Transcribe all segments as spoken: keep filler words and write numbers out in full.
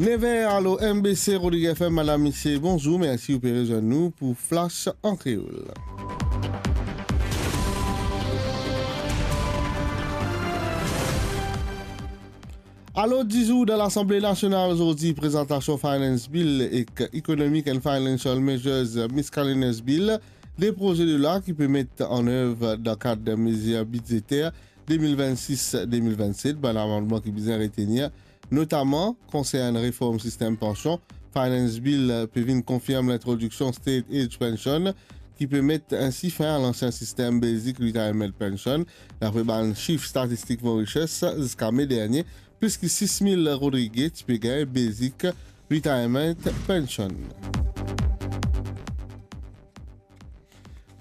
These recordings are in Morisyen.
Nev er, alo M B C Rodrig F M, madam, misie, bonzour, mersi ou pe rezwenn nou pou Flash an Kreol. Alor di zour dan Lasanble Nasional zordi, prezantasion Finance Bill ek Economic and Financial Measures Miscellaneous Bill, de proze de lwa ki pe met an nev dan kad mezir bidzeter de mil vennsis de mil vennset, bann amannman ki bizin retenir, notaman konsern reform sistem pansion. Finance Bill pe vinn konfirm lintrodiksion State Age Pension, ki pe met ensi fin a lansien sistem Basic Retirement Pension. Dapre bann sif statistik Mauritius, ziska me dernie, plis ki sis mil Rodrigye ti pe gagn Basic Retirement Pension.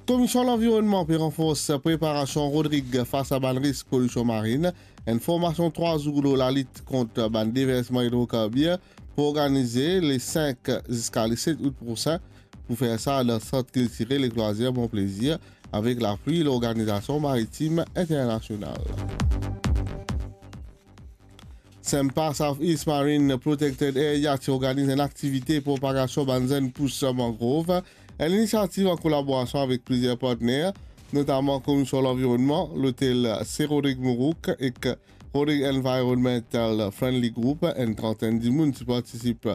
Komision Lanvironnman pe ranfors preparasion Rodrig fas a bann risk polision marin. Enn formasion trwa zour lor lalit kont bann deversman idrokarbir pou organize le sink ziska le set out prosin. Pou fer sa dan sant kiltirel ek lwazir Bon Plezir, avek lapui Lorganizasion Maritim Internasional. SEMPA, South East Marine Protected Area, ti organiz enn aktivite propagasion bann zenn pous mangrov, enn inisiativ an kolaborasion avek plizier partner, notaman Komision Lanvironnman, Lotel Sir Rodrig Mourouk ek Rodrig Environmental Friendly Group. Enn trantenn dimoun ti partisip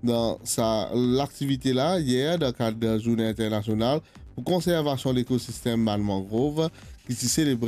dan sa laktivite la yer dan kad Zourne Internasional pou Konservasion Lekosistem bann Mangrov, ki ti selebre